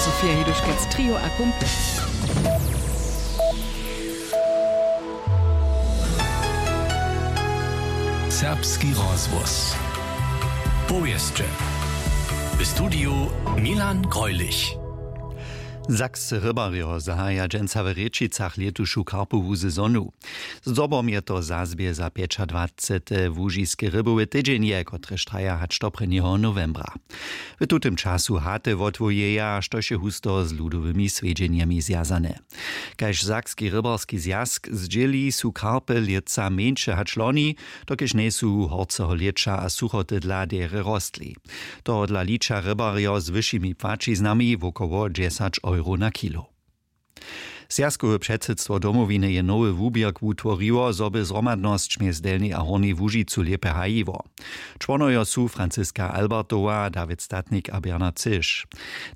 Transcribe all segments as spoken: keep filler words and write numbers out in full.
Sofia Hiduškac, Trio a Kumpel. Serbski rozhłos. Powěsće. W studiju Milan Greulich. Sakscy rybarjo zahaja dźensa w Rěčicach lětušu karpowu sezonu. Zdobom je to zazbě za pjećadwacete łužiske rybowe tydźenje, kotrež traja hač do prěnjeho nowembra. W tutym času haty wotwójeja, štož je husto z ludowymi swjedźenjemi zwjazane. Kaž sakski rybarski zwjazk zdźěli, su karpy lětsa mjeńše hač loni, dokelž njejsu horceho lěća a suchoty dla derje rostli. Tohodla liča rybarjo z wyšimi płaćiznami wokoło dźesać euro na kilo. Zwjazkowe předsydstwo Domowiny je nowy wuběrk wutworiło, zo by zhromadnosć mjez Delnjej a Hornjej Łužicu lěpje hajiło. Čłonojo su Franciska Albertowa, Dawid Statnik a Bernard Cyš.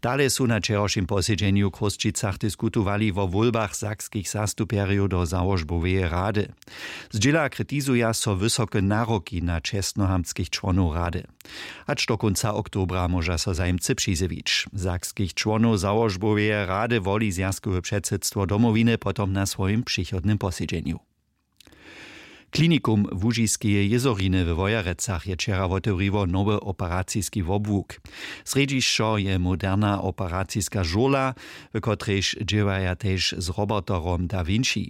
Dale su na wčerawšim posedźenju w Chrósćicach diskutowali wo wólbach sakskich zastupjerjow do załožboweje rady. Zdźěla kritizuja so wysoke naroki na čestnohamtskich čłonow rady. Hač do kónca oktobra móža so zajimcy přizjewić. Sakskich čłonow załožboweje rady woli zwjazkowe předsydstwo Domowiny potom na swojim přichodnym posedźenju. Klinikum Łužiskeje jězoriny we Wojerecach je wčera wotewriło nowy operaciski wobłuk. Srjedźišćo je moderna operaciska žurla, w kotrejž dźěłaja tež z roboterom Da Vinci.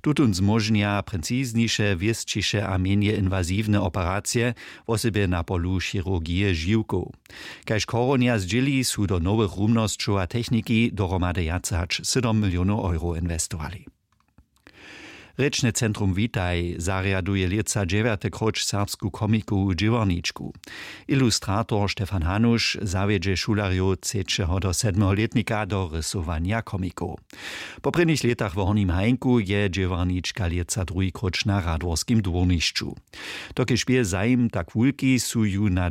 Tutón zmóžnja precizniše, wěsćiše a mjenje inwaziwne operacije, wosebje na polu chirurgije žiwkow. Kaž Chorunja zdźěli, su do nowych rumnosćow a techniki dohromady wjace hač sydom milionow euro inwestowali. Rěčne centrum Witaj zarjaduje lětsa dźewjate króć serbsku komikowu dźěłarničku. Ilustrator Stefan Hanuš zawjedźe šulerjow třećeho do sedmeho lětnika do rysowanja komikow. Po prěnich lětach w Hornim Hajnku je dźěłarnička lětsa druhi króć na Radworskim dwórnišću. Dokelž bě zajim tak wulki, su ju na